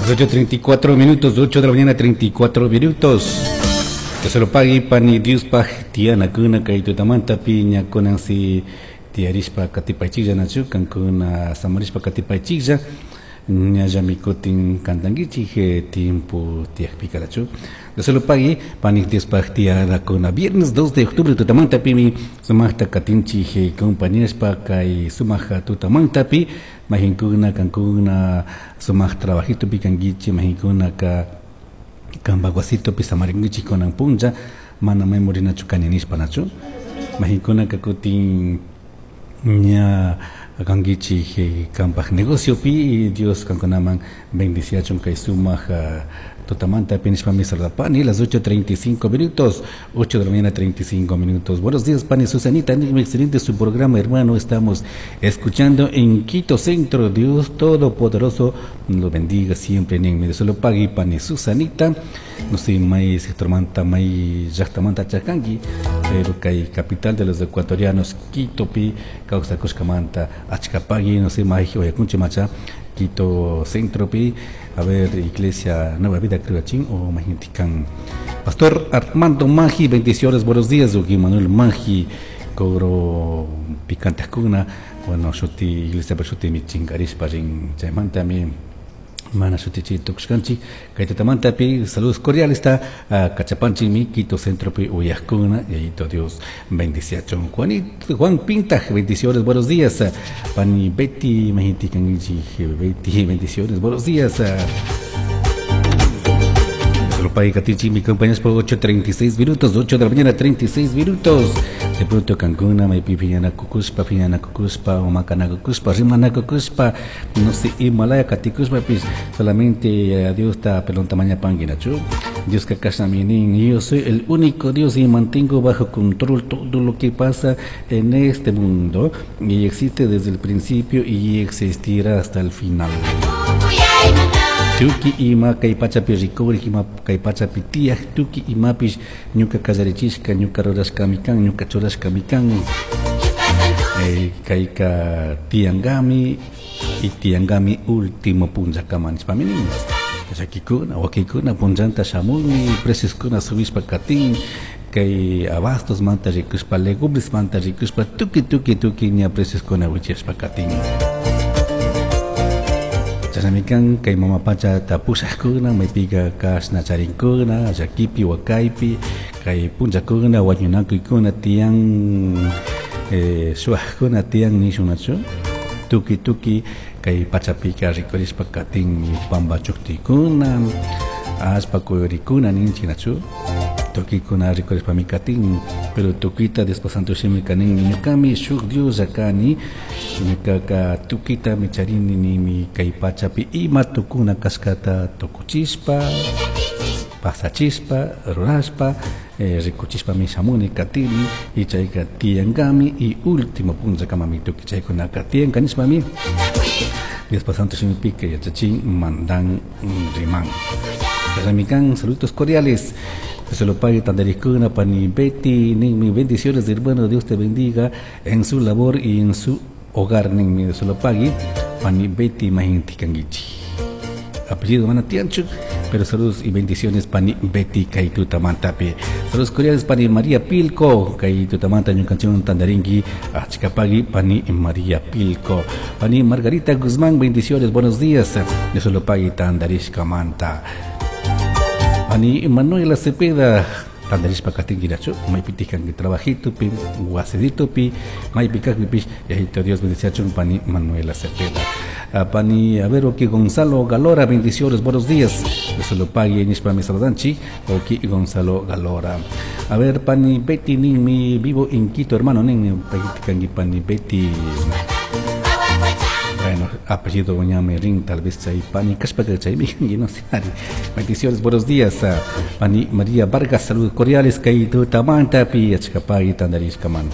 Las 8:34 minutos, 8 de la mañana, 34 minutos. Que se lo pague pani Diospaj tiyanakuna kay tutamanta piña kunansi tiyarishpa katipaychiklla nachu kankuna samarishpa katipaychiklla ñallami kutin cantanguichik tiempo tiyakpika nachu. Dios se lo pague pani Diospaj tiyanakuna viernes 2 de octubre tutamanta pimi sumaqta katinchik compañerashpa kay sumaq tutamantapi mahinkuna kankuna sumaq trabajitopi kankichik mahinkunaka kanpak wasitopi samarinkichik kunan punlla mana may murinachu kani nishpa nachu mahinkunaka kutin ña kankichik kanpak negociopi Dios kankunaman bendiciachun kay sumaq tutamanta nishpami saludapani las 8:35 minutos, 8 de la mañana 35 minutos. Buenos días, pani Susanita, excelente su programa, hermano, estamos escuchando en Quito Centro. Dios Todopoderoso lo bendiga siempre, en medio se lo pague, pani Susanita. No sé, may sector manta, may llaqtamanta chakanki, pero kay capital de los ecuatorianos, Quito pi, kawsakushkamanta, achkapagui, no sé, may oyakunchi macha, Quito Centro pi, a ver, Iglesia Nueva Vida Criochín o Majintican. Pastor Armando Magi, bendiciones, buenos días, Ugi Manuel Magi, cobro picante cuna, bueno, shuti, Iglesia shuti mi chingarishpa rin, chaymanta mi mana shutichi tukushkanchik, kay tutamantapi saludos cordiales está Cachapanchi mi Quito Centro pi uyajkuna, y ahí Dios bendiciachon. Juanito, Juan Pintaj, bendiciones, buenos días. Pani Betty, Majinticanguichi, Betty, bendiciones, buenos días. Paikatichi, mi compañeros por 8:36 minutos, 8 de la mañana, 36 minutos. De pronto Cancún, maypi piñanakukuspa, piñanakukuspa, o makanakukuspa, rimanakukuspa, no sé, Himalaya katikuspa, pues solamente a Dios está pelón tamaña panguinachu. Dios que minin, yo soy el único Dios y mantengo bajo control todo lo que pasa en este mundo y existe desde el principio y existirá hasta el final. Tuki ima kay pachapi rikurik ima kay pachapi tiyaq tuki imapish ñuka kallarichishka ñuka rurashkami kan ñuka churashkami kan kayka tiyankami y tiyankami último punllakama nishpami nin llakikuna wakikuna punllanta shamunmi precios-kuna subishpa katin kay abastos manta rikushpa legumbres manta rikushpa tuki tuki tuki ña precios-kuna wichashpa katin. Chashnamikan kay mama pacha tapushaqkuna maypika kashna charinkuna llakipi wakaypi kay punllakuna wañunakuykuna tiyan shuwaqkuna tiyan nishunachu tuki tuki kay pachapika rikurishpa katinmi pampa chuktikuna allpa kuyurikuna ninchiknachu tukikuna rikurishpami katin pero tukita Diospa santo shimika ninmi ñukami shuk Dioslla kani ñukaka tukita mi charini nimi kay pachapi ima tukuna kashkata tukuchishpa pasachishpa rurashpa rikuchishpami shamuni katini y chayka tiyankami y último punllakamami tuki chaykunaka tiyanka nishpami Diospa santo shimipika yachachin mandan riman. Ramikan, saludos cordiales. Que se lo pague Tandaricuna, Pani Betty, Ninmi, bendiciones, hermano, Dios te bendiga en su labor y en su hogar, Ninmi, se lo pague, Pani Betty Majintikanguichi. Apellido Manatianchu, pero saludos y bendiciones, Pani Betty Kaituta Mantapi. Saludos cordiales, Pani María Pilco, Kaituta Manta, ñukanchun Tandaringui, Achicapagui, Pani María Pilco. Pani Margarita Guzmán, bendiciones, buenos días. Dios se lo pague Tandarishka Manta. Pani Manuela Cepeda, tandarishpa katinguirachu, maypitikan trabajito pi, wasidito pi, maypikakpipish, yajito Dios bendiciachun, Pani Manuela Cepeda. Pani, a ver, oki Gonzalo Galora, bendiciones, buenos días. Eso lo pague nishpa mi saludanchi, oki Gonzalo Galora. A ver, Pani Betty, nin mi vivo en Quito, hermano, nin mi Pani Betty. Bueno, apellido Ñame Rin, tal vez chay Pani Kashpa chay mi no sé. Bendiciones, buenos días. Pani María Vargas, saludos cordiales, kay tutamanta pi achkapay tandarishkamanta.